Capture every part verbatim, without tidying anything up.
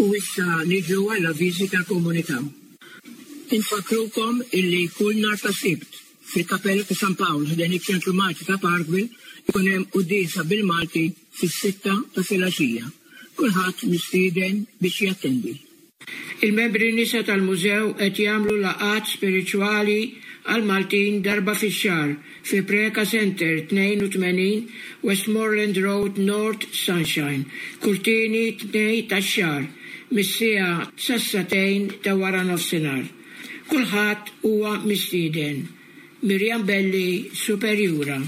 U issa niġu għall-avviżi tal-komunità. Infakkrukom illi kull nhar ta' Sibt fil-Kapella ta' San Pawl ħdejn iċ-Ċentru Malti ta' Parkville ikun hemm quddiesa bil-Malti fis-sitta ta' filgħaxija. Kulħadd mistieden biex jattendi. Il-membri nisa tal-mużew qed jagħmlu laqgħat spiritwali għal Maltin darba fix-xahar fi Preca Center tnejn u tmenin Westmoreland Road, North Sunshine, kull tieni Tnejn tax-xahar mis-siegħa sas-sagħtejn ta' wara nofsinhar. Kulħadd huwa mistieden. Mirjam Belli, Superjura.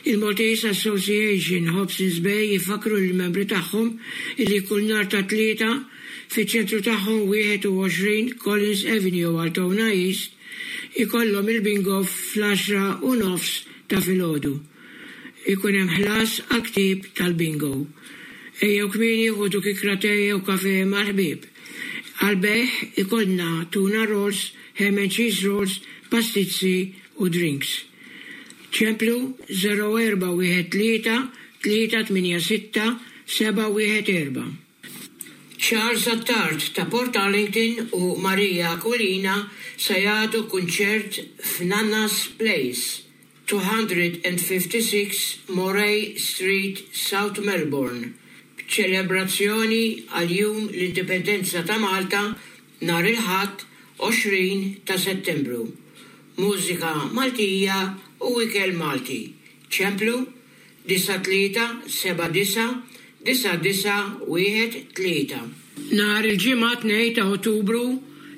Il-Maltese Association Hobsons Bay jifakru l-membri tagħhom illi kull nhar ta' Tlieta fiċ-ċentru tagħhom wieħed u għoxrin Collins Avenue, Altona East, ikollhom il-bingo fl-għaxra u nofs ta' filgħodu. Ikun hemm ħlas għal ktieb tal-bingo. Ejjew kmieni, ħudu kikra te u kafe mal-ħbieb. Għal-bejgħ ikollna tuna rolls, ham and cheese rolls, pastizzi u drinks. ċemplu zero erba' wieħed tlieta tlieta tmienja sitta seba' wieħed erba'. Charles Attard ta' Port Arlington u Maria Aquilina se jagħtu kunċert f'Nanna's Place, two hundred fifty-six Moray Street, South Melbourne, b'ċelebrazzjoni għal Jum l-Indipendenza ta' Malta nhar il-Ħadd għoxrin ta' Settembru. Mużika Maltija u ikel Malti. ċemplu disgħa tlieta seba' disgħa disgħa disgħa wieħed tlieta. Nhar il-Ġimgħa tnejn ta' Ottubru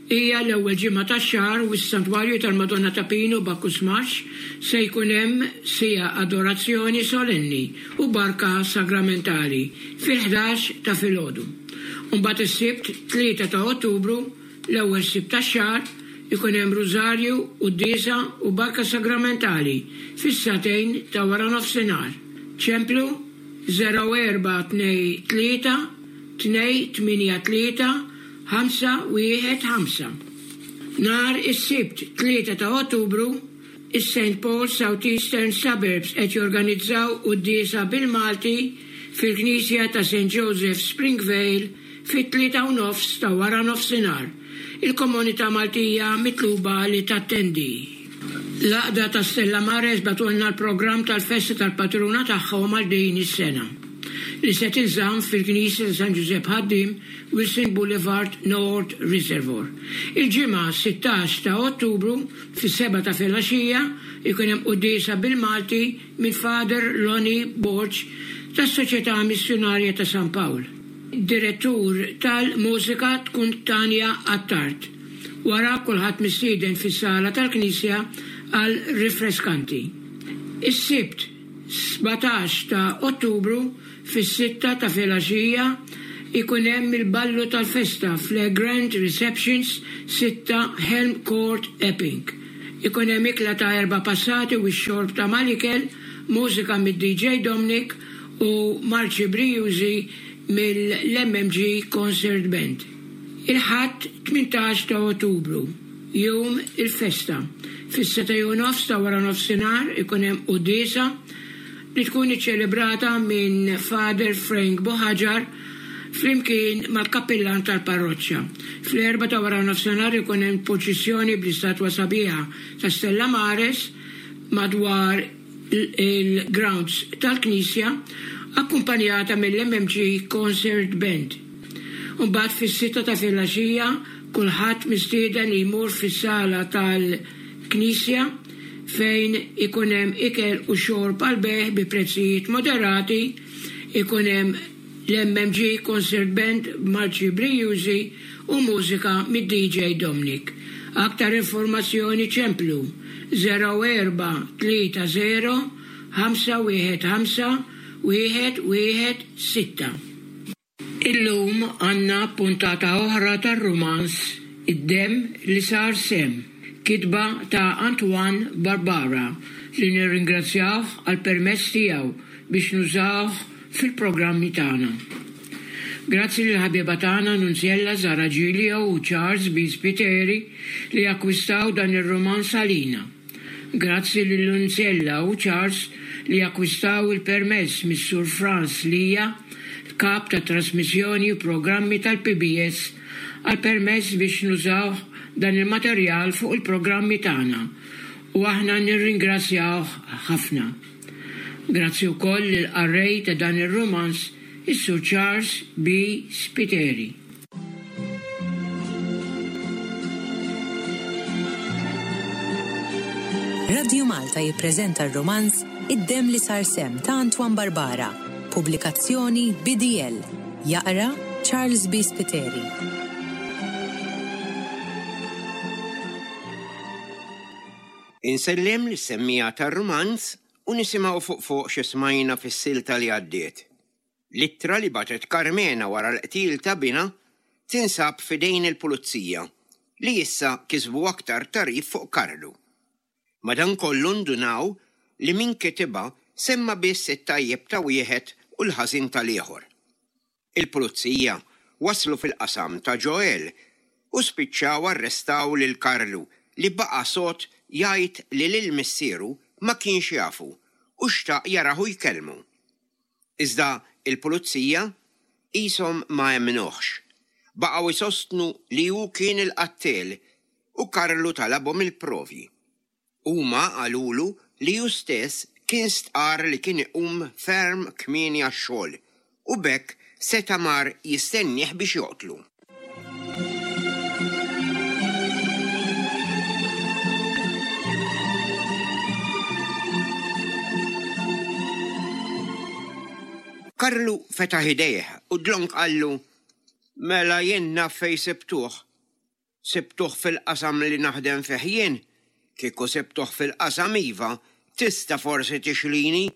hija l-ewwel ġimgħa tax-xahar u s-Santwarju tal-Madonna ta' Pinu, Bacchus Marsh, se jkun hemm siegħa adorazzjoni solenni u barka sagramentali fil-ħdax ta' filgħodu. Mbagħad is-Sibt tlieta ta' Ottubru, l-ewwel Sibt tax-xahar, ikun hemm rużarju, quddiesa u barka sagramentali fis-sagħtejn ta' wara nofsinhar. ċemplu zero erba' tnejn tlieta tnejn tmienja tlieta ħamsa wieħed ħamsa. Nhar is-Sibt tlieta ta' Ottubru, is-Saint Paul Southeastern Suburbs qed jorganizzaw quddiesa bil-Malti fil-Knisja ta' Saint Joseph, Springvale, fit-tlieta u nofs ta' wara nofsinhar. Il-komunità Maltija mitluba li tattendi. L-Għaqda ta' Stella Mares bagħtulna l-programm tal-festa tal-patruna tagħhom għal din is-sena li se tinżamm fil-Knisja ta' San Giuseppe Ħaddiem, Wilson Boulevard, North Reservoir. Il-Ġimgħa sittax ta' Ottubru fis-seba ta' filgħaxija ikun hemm quddiesa bil-Malti minn Father Lonnie Borg tas-Soċjetà Missjonarja ta' San Pawl. Direttur tal-mużika tkun Tanja Attard. Wara kulħadd mistieden fis-sala tal-Knisja għal rifreskanti. Is-Sibt sbatax ta' Ottubru fis-sitta ta' filgħaxija ikun hemm il-ballu tal-festa fl Grand Receptions, sitta Helm Court, Epping. Ikun hemm ikla ta' erba' passati u x-xorb ta' mal-ikel, mużika mid-D J Dominic u marċi brijużi mill-M M G Concert Band. Il-Ħadd tmintax ta' Ottubru, jum il-festa. Fis-sitta u nofs ta' wara nofsinhar ikun hemm quddiesa li tkun iċċelebrata minn Father Frank Boħaġar flimkien mal-kappillan tal-parroċċa. Fl-erbgħa ta' wara nofsinhar ikun hemm purċissjoni bl-istatwa sabiħa ta' Stella Mares madwar il-grounds tal-Knisja, akkumpanjata mill-M M G Concert Band. Mbagħad fis-sitta ta' filgħaxija kulħadd mistieden li jmur fis-sala tal-Knisja fejn ikun hemm ikel u xorb għal bejgħ bi prezzijiet moderati, ikun hemm l-M M G Concert Band b'marċi brijużi u mużika mid-D J Dominic. Aktar informazzjoni ċemplu zero erba' tlieta zero ħamsa wieħed ħamsa wieħed wieħed sitta. Illum għandna puntata oħra tar-rumanz Id-Demm li Sar Semm, kitba ta' Antoine Barbara, li nirringrazzjawh għal permess tiegħu biex nużawh fil-programmi tagħna. Grazzi lil ħabiba tagħna Nunzjella Zara Giglio u Charles B. Spiteri li akkwistaw dan ir-romanz għalina. Grazzi lil Nunzjella u Charles li akkwistaw il-permess mis-Sur Franz Lija Kap ta' Trasmissjoni u Programmi tal-P B S, għal permess biex nużaw dan il-materjal fuq il-programmi tagħna u aħna nirringrazzjawh ħafna. Grazzi wkoll lill-qarrej ta' dan ir-romanz, is-Sur Charles B. Spiteri. Radio Malta jippreżenta r-romanz Id-Demm li Sar Semm ta' Antoine Barbara, pubblikazzjoni B D L. Jaqra Charles B. Spiteri. Insellem lis-semmiegħa tar-romanz u nisimgħu fuq fuq xi smajna fis-silta li għaddiet. L-ittra li bagħtet Karmena wara l-qtil ta' binha tinsab f'idejn il-pulizija li issa kisbu aktar tagħrif fuq Karlu. Madankollu ndunaw li min kitibha semma biss it-tajjeb ta' wieħed u l-ħażin tal-ieħor. Il-pulizija waslu fil-qasam ta' Joel u spiċċaw arrestaw lil Karlu li baqa' sod jgħid li lil missieru ma kienx jafu u xtaq jarahu jkellmu. Iżda il-pulizija qishom ma emmnuhx. Baqgħu jsostnu li hu kien il-qattel u Karlu talabhom il-provi. Huma qalulu li hu stess kien stqar li kien iqum ferm kmieni għax-xogħol u b'hekk seta' mar jistennieh biex joqtlu. Karlu fetaħ idejh u dlonk qallu, Mela jien naf fejn sibtuh. Sibtuh fil-qasam li naħdem fih jien. Kieku sibtuh fil-qasam iva, tista' forsi tixlini.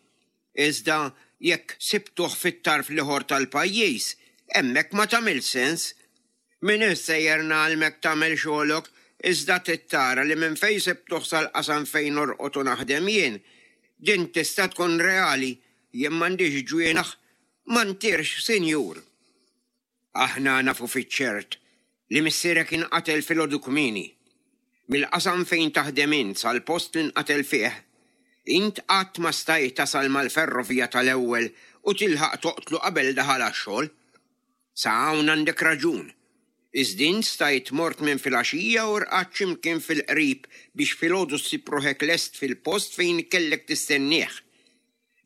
Iżda jekk sibtuh fit-tarf l-ieħor tal-pajjiż, hemmhekk ma tagħmel sens. Min sejjer ngħallmek tagħmel xogħolok, iżda tittara li minn fejn sibtuh sal-qasam fejn norqod u naħdem jien. Din tista' tkun reali, jien m'għandix ġwienaħ, ma ntirx, sinjur. Aħna nafu fiċ-ċert li missierek inqatel filgħodu kmieni. Mill-qasam fejn taħdem int sal-post li nqatel fih, int qatt ma stajt tasal mal-ferrovija tal-ewwel u tilħaq toqtlu qabel daħal għax-xogħol. Sa hawn għandek raġun. Iżda int stajt mort minn filgħaxija u rqadt x'imkien fil-qrib biex filgħodu ssib ruħek lest fil-post fejn kellek tistennieh.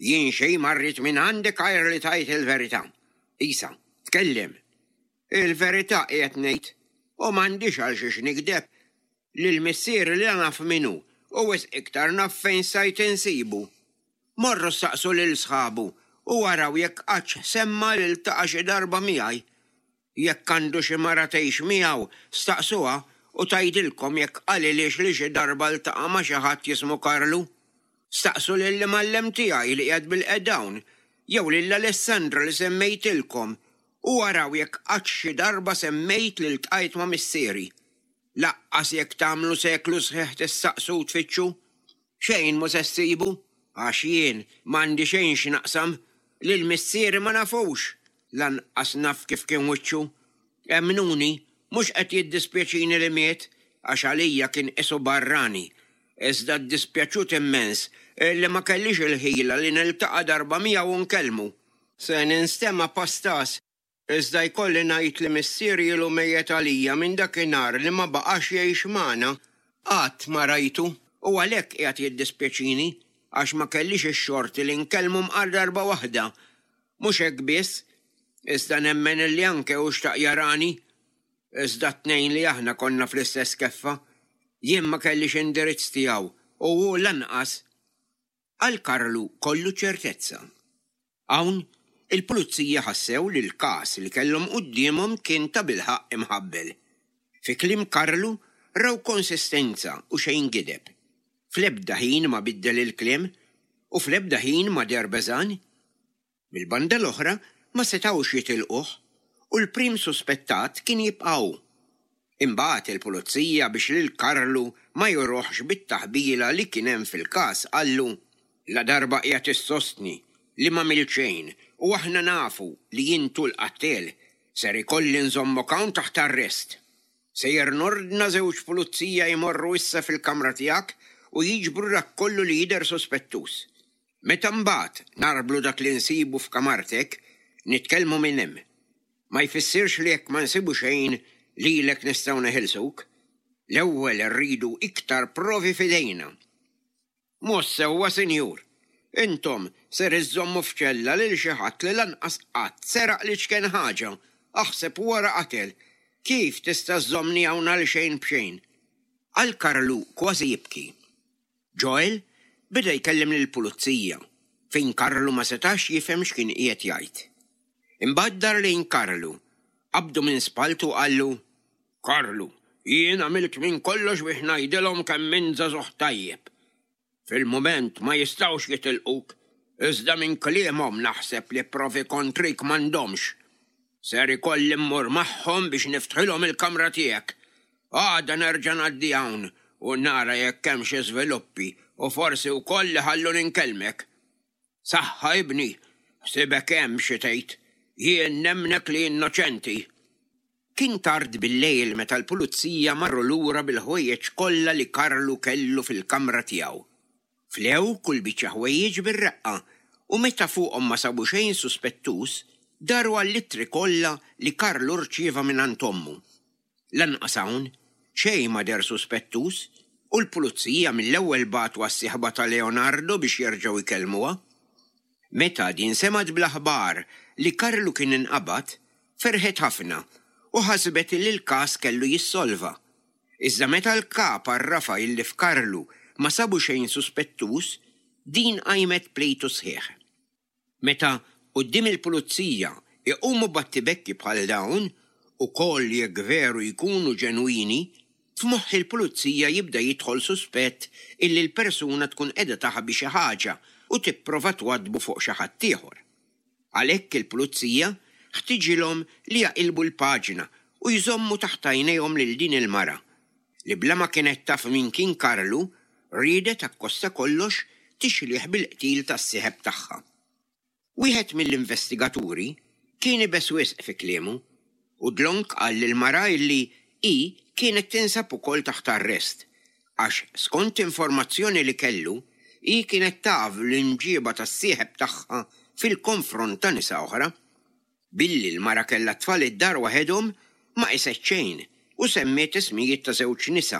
Jien xejn ma rrid minn għandek għajr li tgħid il-verità. Isa, tkellem. Il-verità qiegħed ngħid u m'għandix għal xiex nikdeb. Lil missieri li naf minnu u wisq iktar naf fejn stajt insibu. Morru staqsu lil sħabu u waraw jekk qattx semma li ltaqa' xi darba miegħi. Jekk għandu xi mara tgħix miegħu, staqsuha u tgħidilkom jekk qalilix li xi darba ltaqa' ma' xi ħadd jismu Karlu. Staqsu lill-imgħallem tiegħi li qiegħed bilqiegħda hawn, jew lil Alessandra li semmejtilkom u waraw jekk qatt xi darba semmejt li ltqajt ma' missieri. Laqqas jekk tagħmlu seklu sħiħ tistaqsu u tfittxu. Xejn mhu se ssibu, għax jien m'għandi xejn x'naqsam, lil missieri ma nafux, lanqas naf kif kien wiċċu. Emmnuni, mhux qed jiddispjaċini li miet, għax għalija kien qisu barrani. Iżda ddispjaċut immens li ma kellix il-ħila li niltaqa' darba miegħu u nkellmu. Se ninstema' pastas, iżda jkolli ngħid li missieri ilu mejjet għalija minn dakinhar li ma baqax jgħix magħna. Qatt ma rajtu u għalhekk qiegħed jiddispjaċini għax ma kellix ix-xorti li nkellmu mqar darba waħda. Mhux hekk biss, iżda nemmen li anke hu xtaq jarani. Iżda t-tnejn li aħna konna fl-istess keffa. Jien ma kellix indirizz tiegħu u hu lanqas. Għal Karlu kollu ċertezza. Hawn il-pulizija ħassew li l-każ li kellhom quddiemhom kien ta' bilħaqq imħabbel. Fi kliem Karlu raw konsistenza u xejn gideb. Fl-ebda ħin ma biddel il-kliem u fl-ebda ħin ma deher beżan. Mill-banda l-oħra ma setgħux jitilquh u l-prim suspettat kien jibqa' hu. Imbagħad il-pulizija biex lil Karlu ma juruhx bit-taħbila li kien hemm fil-każ qallu, La darba qiegħed issostni li ma għamilt xejn u aħna nafu li intu l-qattel, ser ikolli nżommok hawn taħt arrest. Sejjer nordna żewġ pulizija jmorru issa fil-kamra tiegħek u jiġbru dak kollu li jidher sospettuż. Meta mbagħad narblu dak li nsibu f'kamartek, Nitkellmu minn hemm. Ma jfissirx li jekk ma nsibu xejn lilek nistgħu neħilsuk. L-ewwel irridu iktar provi f'idejna. Mhux sewwa, sinjur. Intom ser iżżommu f'ċella lil xi ħadd li lanqas qatt seraq l-iċken ħaġa, aħseb wara qatel. Kif tista' żżommni hawn għal xejn b'xejn? Qal Karlu kważi jibki. Joel beda jkellem lill-pulizija fejn Karlu ma setax jifhem x'kien qiegħed jgħid. Imbagħad dar lejn Karlu, qabdu minn spaltu qallu, Karlu, jien għamilt minn kollox biex ngħidilhom kemm int żagħżugħ tajjeb. Fil-mument ma jistgħux jitilquk, iżda minn kliemhom naħseb li provi kontrik m'għandhomx. Ser ikolli mmur magħhom biex niftħilhom il-kamra tiegħek. Għada nerġa' ngħaddi hawn u nara jekk hemm xi żviluppi u forsi wkoll iħalluni nkellmek. Saħħa ibni, ħsibek hemm xi tgħid, jien nemmnek li innoċenti. Kien tard bil-lejl meta l-pulizija marru lura bil-ħwejjeġ kollha li Karlu kellu fil-kamra tiegħu. Flew kull biċċa ħwejjeġ bir-reqqa u meta fuqhom ma sabu xejn suspettuż, daru għall-ittri kollha li Karlu rċieva mingħand ommu. Lanqas hawn xejn ma deher suspettuż u l-pulizija mill-ewwel bagħtu għas-sieħba ta' Leonardo biex jerġgħu jkellmuha. Meta din semgħet bl-aħbar li Karlu kien inqabad, ferħet ħafna u ħasbet li l-każ kellu jissolva. Iżda meta l-kap għarrafha illi f'Karlu ma sabu xejn suspettuż, din qajmet plejtu sħiħ. Meta quddiem il-pulizija iqumu battibekki bħal dawn, ukoll jekk veru jkunu ġenwini, f'moħħ il-pulizija jibda jidħol suspett illi l-persuna tkun qiegħda taħbi xi ħaġa u tipprova twaddbu fuq xi ħadd ieħor. Għalhekk il-pulizija ħtiġilhom li jaqilbu l-paġna u jżommu taħt għajnejhom lil din il-mara li bla ma kienet taf min kien Karlu riedet akkosta kollox tixlih bil-qtil tas-sieħeb tagħha. Wieħed mill-investigaturi kien iebes wisq fi kliemu u dlonk qal lill-mara illi hi kienet tinsab ukoll taħt arrest għax skont informazzjoni li kellu hi kienet taf l-imġiba tas-sieħeb tagħha fil-konfront ta' nisa oħra. Billi l-mara kellha tfal id-dar waħedhom ma qiset xejn u semmiet ismijiet ta' żewġ nisa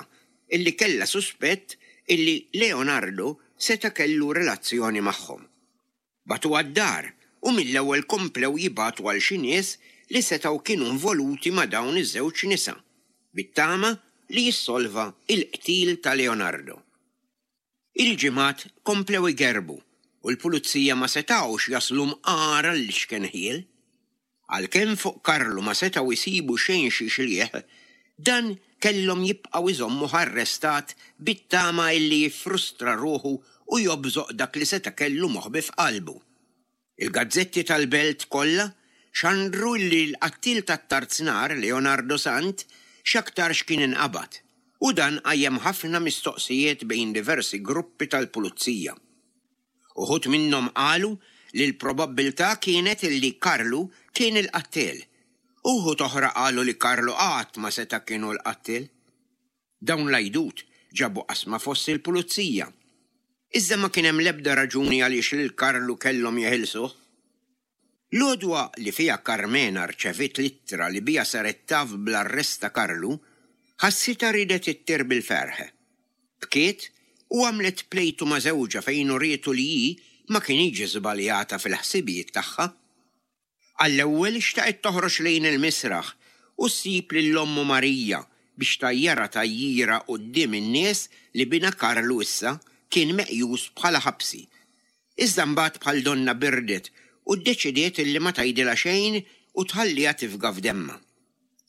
illi kellha suspett illi Leonardo seta' kellu relazzjoni magħhom. Bagħtu għad-dar u mill-ewwel komplew jibagħtu għal xi nies li setgħu kienu involuti ma' dawn iż-żewġ nisa, bit-tama li jissolva il-qtil ta' Leonardo. Il-ġimgħat komplew igerbu u l-pulizija ma setgħux jaslu mqar għall-iċken ħjiel. Għalkemm fuq Karlu ma setgħu jsibu xejn xi xlieħ, dan kellhom jibqgħu jżommuh arrestat bit-tama illi jiffrustra ruħu u jobżoq dak li seta' kellu moħbi f'qalbu. Il-gazzetti tal-belt kollha xandru li l-qattil tat-tarznar Leonardo Sant x'aktarx kien inqabad u dan qajjem ħafna mistoqsijiet bejn diversi gruppi tal-pulizija. Uħud minnhom qalu li l-probabbiltà kienet illi Karlu kien il-qattil. Uħud oħra qalu li Karlu qatt ma seta' kienu l-qattil. Dawn l-għajdut ġabu qasma fost il-pulizija. Iżda ma kien hemm l-ebda raġuni għaliex lil Karlu kellhom jeħilsuh. L-għodwa li fiha Carmena rċeviet l-ittra li biha saret taf bl-arrest ta' Karlu, ħassitha riedet ittir bil-ferħ. Bkiet u għamlet plejtu ma' żewġha fejn urietu li hi ma kinitx żbaljata fil-ħsibijiet tagħha. Għall-ewwel xtaqet toħroġ lejn il-misraħ u ssib lil ommu Marija biex tgħajjarha tgħajjira quddiem in-nies li binha Karlu issa kien meqjus bħala ħabsi. Iżda mbagħad bħal donna birdet u ddeċidiet illi ma tgħidilha xejn u tħalliha tifga f'demma.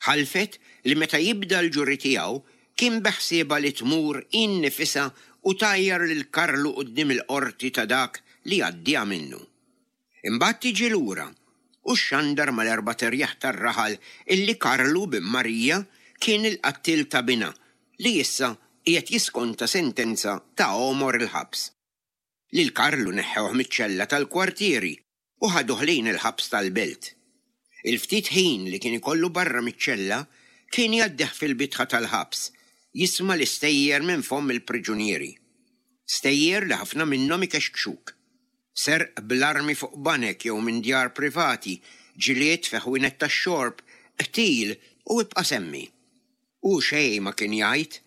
Ħalfet li meta jibda l-ġuri tiegħu kien beħsiebha li tmur innifisha u tgħajjar lil Karlu quddiem il-qorti ta' dak li għaddieha minnu. Imbagħad tiġi lura u xxandar mal-erba' terjaħ tar-raħal illi Karlu bin Marija kien il-qattil ta' binha li issa qiegħed jiskonta sentenza ta' għomor il-ħabs. Lil Karlu neħħewh miċ-ċella tal-kwartieri u ħaduh lejn il-ħabs tal-belt. Il-ftit ħin li kien ikollu barra miċ-ċella kien jgħaddih fil-bitħa tal-ħabs, jisma' l-istejjer minn fomm il-priġunieri. Stejjer li ħafna minnhom ikexkxuk. Serq bl-armi fuq banek jew minn djar privati, ġlied fi ħwienet tax-xorb, qtil u ibqa' semmi. Hu xejn ma kien jgħid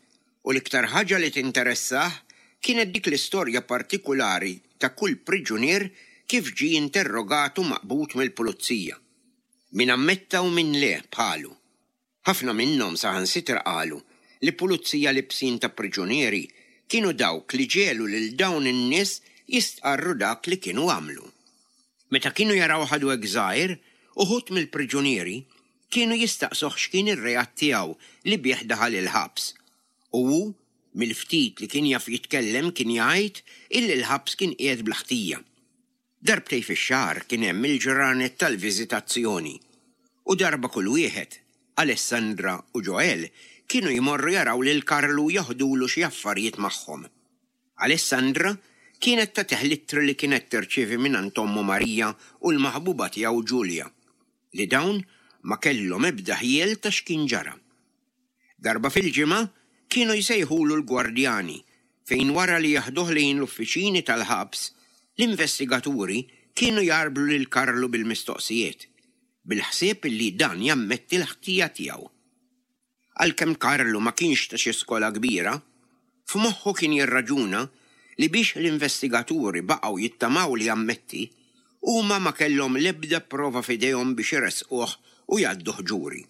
u l-iktar ħaġa li tinteressah kienet dik l-istorja partikulari ta' kull priġunier kif ġie interrogat u maqbud mill-pulizija. Min ammetta u min le bħalu. Ħafna minnhom saħansitra qalu li pulizija libsin ta' priġunieri kienu dawk li ġiegħlu lil dawn in-nies jistqarru dak li kienu għamlu. Meta kienu jaraw għadu hekk żgħir, uħud mill-priġunieri kienu jistaqsuh x'kien ir-reat tiegħu li bih daħal il-ħabs. U hu mill-ftit li kien jaf jitkellem kien jgħid illi l-ħabs kien qiegħed bla ħtija. Darbtejn fix-xahar kien hemm il-ġranet tal-viżitazzjoni u darba kull wieħed, Alessandra u Joel, kienu jmorru jaraw lil Karlu joħdulu xi affarijiet magħhom. Alessandra kienet tagħtih l-ittri li kienet tirċievi minn ommu Marija u l-maħbuba tiegħu Ġulja, li dawn ma kellhom ebda ħjiel ta' x'kien ġara. Darba fil-ġimgħa kienu jsejħulu l-gwardjani fejn wara li jeħduh lejn l-uffiċini tal-ħabs, l-investigaturi kienu jgħarblu lil Karlu bil-mistoqsijiet, bil-ħsieb li dan jammetti l-ħtija tiegħu. Għalkemm Karlu ma kienx ta' xi skola kbira, f'moħħu kien jirraġuna li biex l-investigaturi baqgħu jittamaw li jammetti, huma ma kellhom l-ebda prova f'idejhom biex iressquh u jgħadduh ġuri.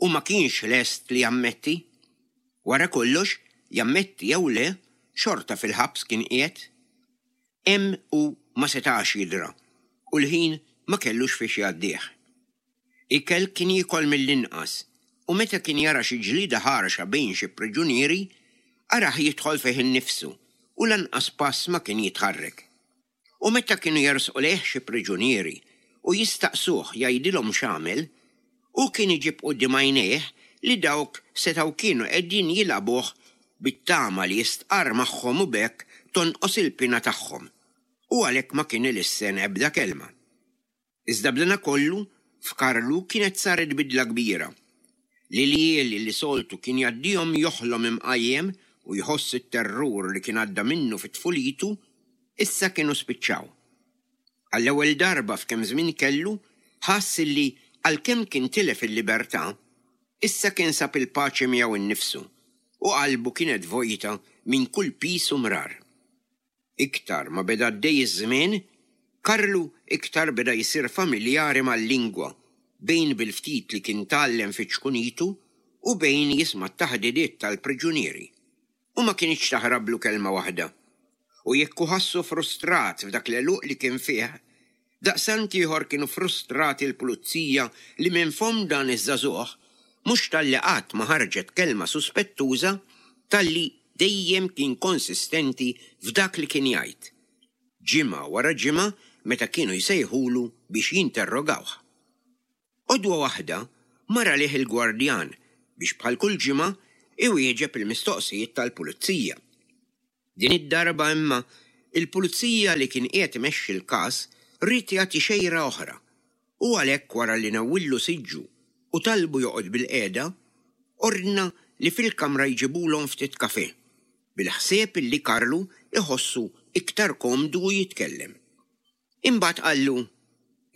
U ma kienx lest li jammetti. Wara kollox, jammetti jew le, xorta fil-ħabs kien qiegħed. Hemm hu ma setax jidra u l-ħin ma kellux fiex jgħaddih. Ikel kien jiekol mill-inqas u meta kien jara xi ġlida ħarxa bejn xi priġunieri, arah jidħol fih innifsu u lanqas pass ma kien jitħarrek. U meta kienu jersqu lejh xi priġunieri u jistaqsuh jgħidilhom x'għamel, hu kien iġib quddiem għajnejh li dawk setgħu kienu qegħdin jilagħbuh bit-tama li jistqarr magħhom u b'hekk tonqos il-pina tagħhom. U għalhekk ma kien ilissen ebda kelma. Iżda b'dana kollu f'Karlu kienet saret bidla kbira. L-iljieli li soltu kien jgħaddihom joħlom imqajjem u jħoss it-terrur li kien għadda minnu fit-tfulitu, issa kienu spiċċaw. Għall-ewwel darba f'kemm żmien kellu, ħass li għalkemm kien tilef il-libertà, issa kien sab il-paċi miegħu innifsu u qalbu kienet vojta minn kull piż u mrar. Iktar ma beda għaddej iż-żmien, Karlu iktar beda jsir familjari mal-lingwa bejn bil-ftit li kien tgħallem fi ċkunitu u bejn jisma' t-taħdidiet tal-priġunieri. U ma kinitx taħrablu kelma waħda. U jekk hu ħassu frustrat f'dak l-għeluq li kien fih, daqstant ieħor kienu frustrati l-pulizija li minn fomm dan iż-żagħżugħ mhux talli qatt ma ħarġet kelma suspettuża talli dejjem kien konsistenti f'dak li kien jgħid. Ġimgħa wara ġimgħa meta kienu jsejħulu biex jinterrogawh. Għodwa waħda mar għalih il-gwardjan biex bħal kull ġimgħa iwieġeb il-mistoqsijiet tal-pulizija. Din id-darba imma il-pulizija li kien qiegħed imexxi l-każ ried jagħti xejra oħra u għalhekk wara li newwillu siġġu u talbu joqgħod bilqiegħda, ordna li fil-kamra jġibulhom ftit kafè, bil-ħsieb li Karlu iħossu iktar komdu u jitkellem. Imbagħad qallu,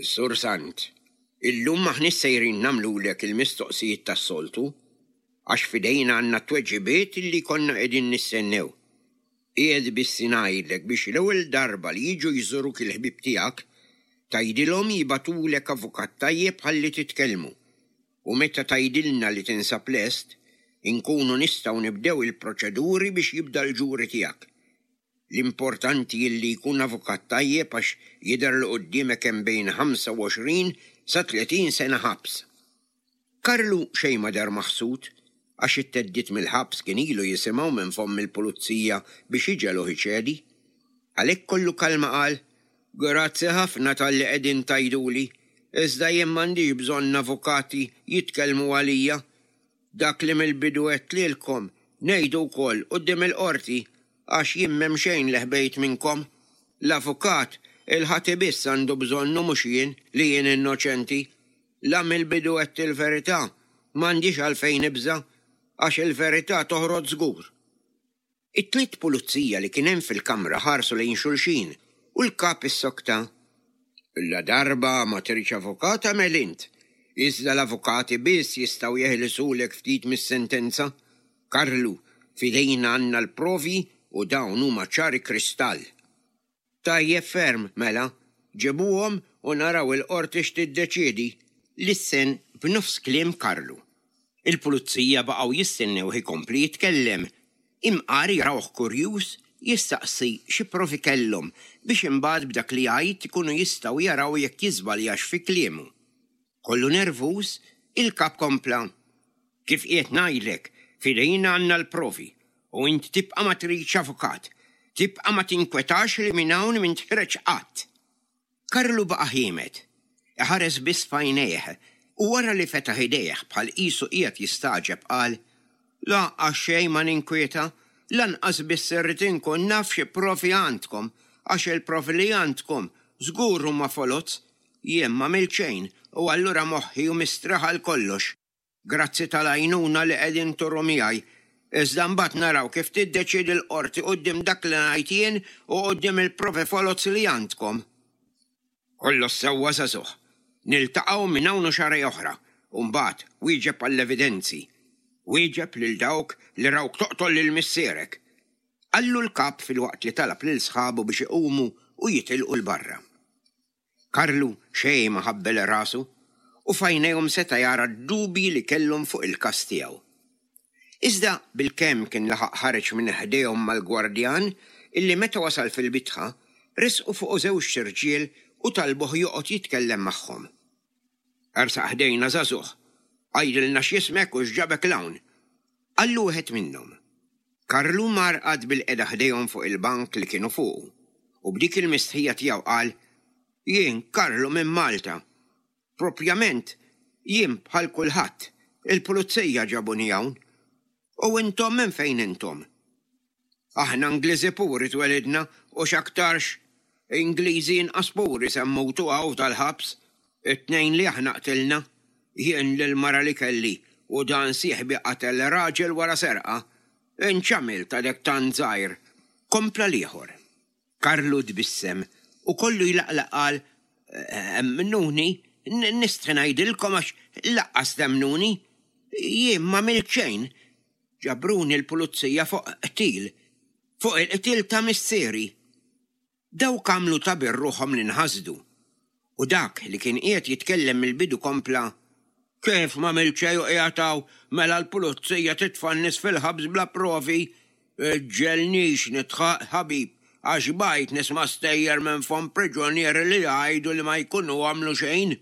Sur Sant, illum m'aħniex sejrin nagħmlulek il-mistoqsijiet tas-soltu, għax f'idejna għandna tweġibiet illi konna qegħdin nistennew. Qiegħed biss ngħidlek biex l-ewwel darba li jiġu jżuruk il-ħbieb tiegħek, tgħidilhom jibagħtulek avukat tajjeb ħalli titkellmu. U meta tgħidilna li tinsab lest, inkunu nistgħu nibdew il-proċeduri biex jibda l-ġuri tiegħek. L-importanti illi jkun avukat tajjeb għax jidher li quddiemek hemm bejn ħamsa u għoxrin sa tletin sena ħabs. Karlu xejn ma deher maħsud għax it-theddid mill-ħabs kien ilu jisimgħu minn fomm il-pulizija biex iġegħluh iċedi. Għalhekk kollu kalma qal, Grazzi ħafna talli qegħdin tgħiduli, iżda jien m'għandix bżonn avukati jitkellmu għalija. Dak li mill-bidu għedt lilkom ngħidu wkoll quddiem il-qorti għax jien m'hemm xejn li ħbejt minnkom. L-avukat il-ħati biss għandu bżonnu mhux jien li jien innoċenti. La mill-bidu għedt il-verità, m'għandix għalfejn nibża' għax il-verità toħroġ żgur. It-tliet pulizija li kien hemm fil-kamra ħarsu lejn xulxin u l-kap issokta. Ladarba ma tridx avukat agħmel int. Iżda l-avukati biss jistgħu jeħilsulek ftit mis-sentenza. Karlu, f'idejna għandna l-provi u dawn huma ċari kristall. Tajjeb ferm, mela, ġibuhom u naraw il-qorti x'tiddeċiedi. Lissen b'nofs kliem Karlu. Il-pulizija baqgħu jistennew ikompli jitkellem. Imqar jarawh kurjuż jistaqsi xi provi kellhom biex imbagħad b'dak li jgħid ikunu jistgħu jaraw jekk jiżbaljax fi kliemu. Kollu nervuż, il-kap kompla. Kif qiegħed ngħidlek, f'idejna għandna l-provi u int tibqa' ma tridx avukat, tibqa' ma tinkwetax li minn hawn m'int ħiereġ qatt. Karlu baqa' ħiemed, iħares biss f'għajnejh u wara li fetaħ idejh bħal qisu qiegħed jistagħġeb qal, Lanqas xejn ma ninkwieta, lanqas biss irrid inkun naf xi provi għandkom, għax il-provi li għandkom żgur huma foloz, jien m'għamilt xejn u allura moħħi hu mistrieħ għal kollox. Grazzi tal-għajnuna li qegħdin turu miegħi. Iżda mbagħad naraw kif tiddeċiedi l-qorti quddiem dak li ngħid jien u quddiem il-provi foloz li għandkom. Kollox sewwa żagħżugħ. Niltaqgħu minn hawn u xahrejn oħra u mbagħad wieġeb għall-evidenzi. Wieġeb lil dawk li rawk toqtol lil missierek. Qallu l-kap filwaqt li talab lil sħabu biex iqumu u jitilqu 'l barra. Karlu xejn ma ħabbel rasu u f'għajnejhom seta' jara d-dubji li kellhom fuq il-każ tiegħu. Iżda bilkemm kien laħaq ħareġ minn ħdejhom mal-gwardjan illi meta wasal fil-bitħa resqu fuqu żewġt irġiel u talbuh joqgħod jitkellem magħhom. Ersaq ħdejna żagħżugħ, għidilna x'jismek u x'ġabek 'l hawn, qallu wieħed minnhom. Karlu mar qagħad bilqiegħda ħdejhom fuq il-bank li kienu fuqu u b'dik il-mistħija tiegħu qal, Jien Karlu minn Malta. Propjament, jien bħal kulħadd, il-pulizija ġabuni hawn. U intom minn fejn intom? Aħna Ingliżi puri twelidna u x'aktarx Ingliżi inqas puri se mmutu hawn tal-ħabs. It-tnejn li aħna qtilna, jien lil mara li kelli u dan sieħbi qatel raġel wara serqa. Int x'għamilt għadek tant żgħir. Kompla l-ieħor. Karlu tbissem u kollu jlaqlaq qal, Emmnuni, nistħi ngħidilkom għax lanqas temmnuni. Jien m'għamilt xejn. Ġabruni l-pulizija fuq qtil, fuq il-qtil ta' missieri. Dawk għamlu ta' birruħhom li nħasdu. U dak li kien qiegħed jitkellem mill-bidu kompla, Kif m'għamilt xejn u qiegħed hawn, mela l-pulizija titfa' n-nies fil-ħabs bla provi? Iġġegħelnix nidħaq ħabib, għax bajt nisma' stejjer minn fomm priġunieri li jgħidu li ma jkunu għamlu xejn.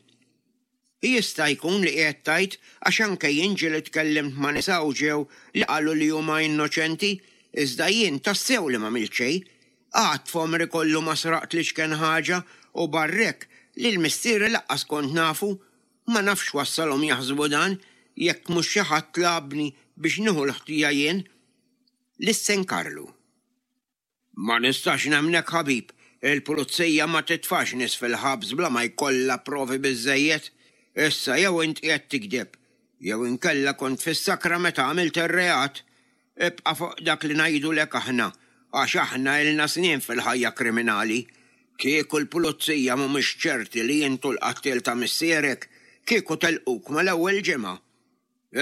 Jista' jkun li qiegħed tgħid għax anke jien ġieli tkellimt ma' nies hawn ġew li qalu li huma innoċenti, iżda jien tassew li m'għamilt xejn. Qatt f'għomri kollu ma sraqt l-iċken ħaġa u barrek li l-missieri lanqas kont nafu. Ma nafx wassalhom jaħsbu dan jekk mhux xi ħadd tlabni biex nieħu l-ħtija jien. Lissen Karlu. Ma nistax nemmnek ħabib, il-pulizija ma titfax nies fil-ħabs bla ma jkollha provi biżżejjed. Issa jew int qiegħed tikdeb, jew inkella kont fis-sakra meta għamilt ir-reat. Ibqa' fuq dak li ngħidulek aħna, għax aħna ilna snin fil-ħajja kriminali. Kieku l-pulizija mhumiex ċerti li intu l-qattiel ta' missierek, kieku telquk mal-ewwel ġimgħa.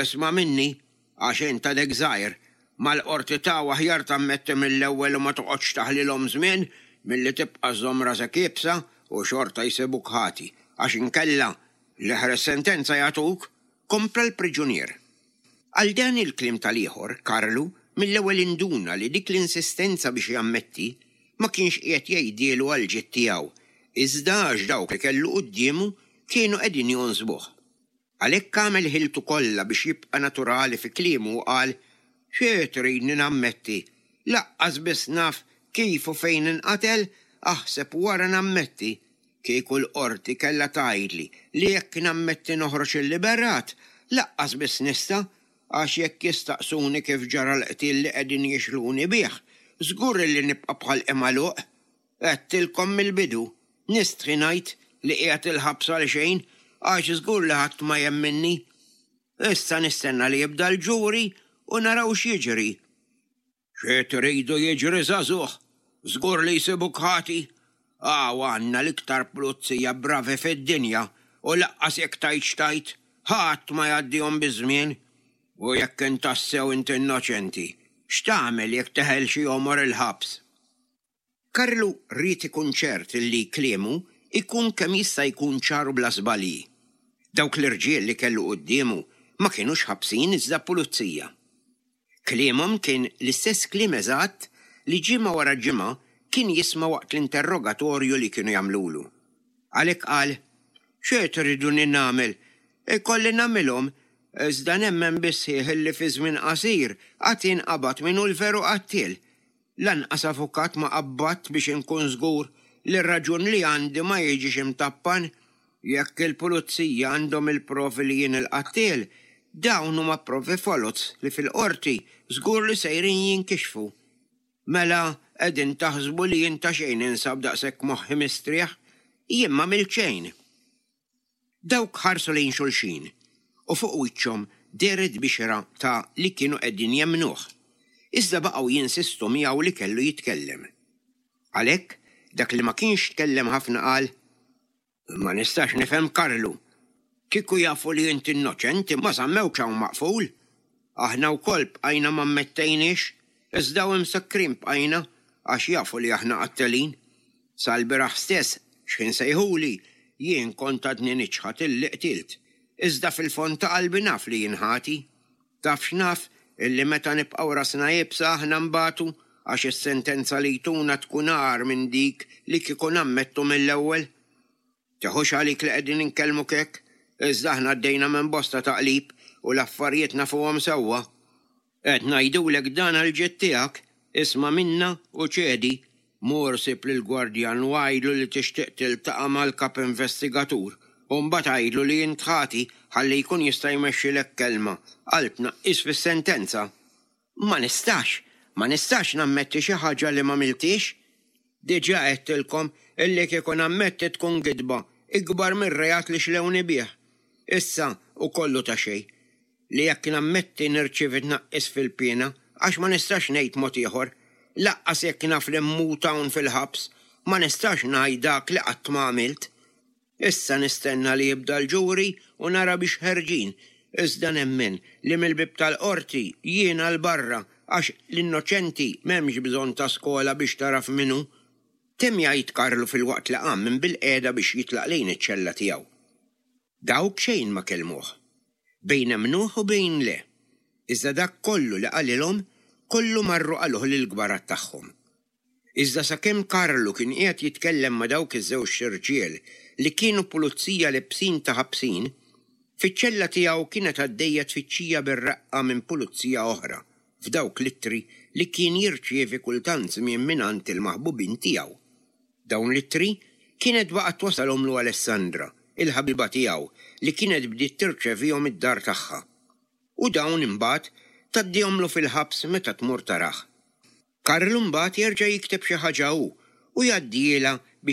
Isma' minni, għax int għadek żgħir, mal-qorti ta' aħjar tammetti mill-ewwel u ma toqgħodx taħlilhom żmien milli tibqa' żomm rasek iebsa u xorta jsibuk ħati, għax inkella l-eħres sentenza jagħtuk, kompla l-priġunier. Għal dan il-kliem tal-ieħor, Karlu mill-ewwel induna li dik l-insistenza biex jammetti ma kienx qiegħed jgħidielu għal ġid tiegħu, iżda għax dawk li kellu quddiemu kienu qegħdin jonsbuh. Għalhekk għamel ħiltu kollha biex jibqa' naturali fi kliemu u qal, Xi tridni nammetti? Lanqas biss naf kif u fejn inqatel, aħseb wara nammetti. Kieku l-qorti kellha tgħidli li jekk nammetti noħroġ illiberat, lanqas biss nista', għax jekk jistaqsuni kif ġara l-qtil li qegħdin jixluni bih, żgur li nibqa' bħal magħluq. Għedtilkom mill-bidu, nistħi ngħid li qiegħed il-ħabs għal xejn, għax żgur li ħadd ma jemminni. Issa nistenna li jibda l-ġuri u naraw x'jiġri. Xi tridu jiġri żagħżugħ, żgur li jsibuk ħati, Hawn għandna l-iktar pulizija bravi fid-dinja u lanqas jekk tgħid x'tgħid, ħadd ma jgħaddihom biż-żmien. U jekk int tassew int innoċenti, x'tagħmel jekk teħel xi għomor il-ħabs? Karlu ried ikun ċert li kliemu ikun kemm jista' jkun ċar u bla żbalji. Dawk l-irġiel li kellu quddiemu ma kienux ħabsin iżda pulizija. Kliemhom kien l-istess kliem eżatt li ġimgħa wara ġimgħa kien jisma' waqt l-interrogatorju li kienu jagħmlulu. Għalhekk qal, "Xi triduni nagħmel? Ikolli nagħmilhom, iżda nemmen bis-sħiħ li fi żmien qasir għad jinqabad min hu l-veru qattiel. Lanqas avukat ma qabbadt biex inkun żgur li r-raġun li għandi ma jiġix imtappan. Jekk il-pulizija għandhom il-provi li jien il-qattiel, dawn huma provi foloz li fil-qorti żgur li sejrin jinkixfu. Mela qegħdin taħsbu li jien ta' xejn insab daqshekk moħħi mistrieħ, jien ma għamilt xejn. Dawk ħarsu lejn xulxin u fuq wiċċhom dehret bixra ta' li kienu qegħdin jemmnuh. Iżda baqgħu jinsistu miegħu li kellu jitkellem. Għalhekk dak li ma kienx tkellem ħafna qal, Ma nistax nifhem Karlu. Kieku jafu li inti innoċenti ma żammewkx hawn maqful. Aħna wkoll bqajna ma ammettejniex, iżda u msakkrin bqajna għax jafu li aħna qattelin. Sal-bieraħ stess x'ħin sejħuli jien kont għadni niċħad illi qtilt. Iżda fil-fond ta' qalbi naf li jien ħati. Taf x'naf illi meta nibqgħu rasna iebsa aħna nbatu għax is-sentenza li jtuna tkun agħar minn dik li kieku nammettu mill-ewwel. Teħux għalik li qegħdin inkellmuk hekk, iżda aħna għaddejna minn bosta taqlib u l-affarijiet nafuhom sewwa. Qed ngħidulek dan għall-ġid tiegħek, isma' minna u ċedi, mur sib lill-gwardjan u għidlu li tixtieq tiltaqa' mal-kap investigatur u mbagħad għidlu li int ħati ħalli jkun jista' jmexxilek kelma għal tnaqqis fis-sentenza. Ma nistax, ma nistax nammetti xi ħaġa li m'għamiltix. Diġà għedtilkom illi kieku nammetti tkun gidba ikbar mir-reat li xlewni bih. Issa u kollu ta' xejn. Li jekk nammetti nirċievi tnaqqis fil-piena għax ma nistax ngħid mod ieħor. Lanqas jekk naf li mmut hawn fil-ħabs, ma nistax ngħid dak li qatt ma għamilt. Issa nistenna li jibda l-ġuri u nara biex ħerġin. Iżda nemmen li mill-bib tal-qorti jiena 'l barra għax l-innoċenti m'hemmx bżonn ta' skola biex taraf min hu. Temm jgħid Karlu filwaqt li qam minn bil-qiegħda biex jitlaq lejn iċ-ċella tiegħu. Dawk xejn ma kellmuh. Bejn emmnuh u bejn le. Iżda dak kollu li qalilhom, kollu marru qaluh lill-kbarat tagħhom. Iżda sakemm Karlu kien qiegħed jitkellem ma' dawk iż-żewġ irġiel li kienu pulizija lebsin ta' ħabsin, fiċ-ċella tiegħu kienet għaddejja tfittxija bir-raqqa minn pulizija oħra f'dawk l-ittri li kien jirċievi kultant żmien mingħand il-maħbubin tiegħu. Dawn l-ittri kienet baqgħet twasalhomlu Alessandra, il-ħabiba tiegħu li kienet bdiet tirċevihom id-dar tagħha. U dawn imbagħad tgħaddihomlu fil-ħabs meta tmur tarah. Karlu mbagħad jerġa' jikteb xi ħaġa hu u jgħaddielha biex